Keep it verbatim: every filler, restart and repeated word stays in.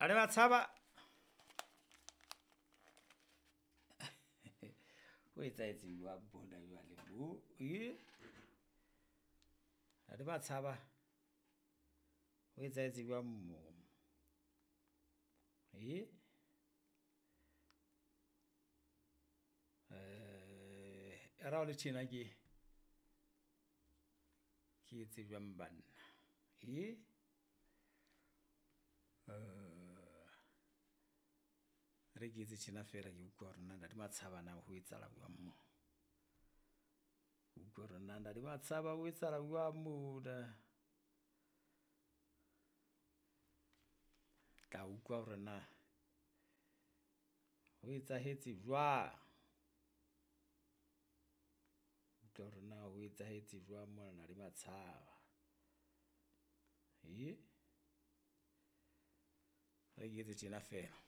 A le Matshaba. Ho etsahetse jwang mona jwale mo? E? Ha le Matshaba, ho etsahetse jwang mo? E? E re ha o le tjena ke, ke etse jwang banna? E? E re ke etse tjena feela ke utlwe hore na Ntate Matshaba na ho etsahala jwang mo. Ke utlwe hore na Ntate Matshaba ho etsahala jwang mona. Tla utlwa hore na ho etsahetse jwang. Utlwa hore na ho etsahetse jwang mona Ntate Matshaba. E? E re ke etse tjena feela.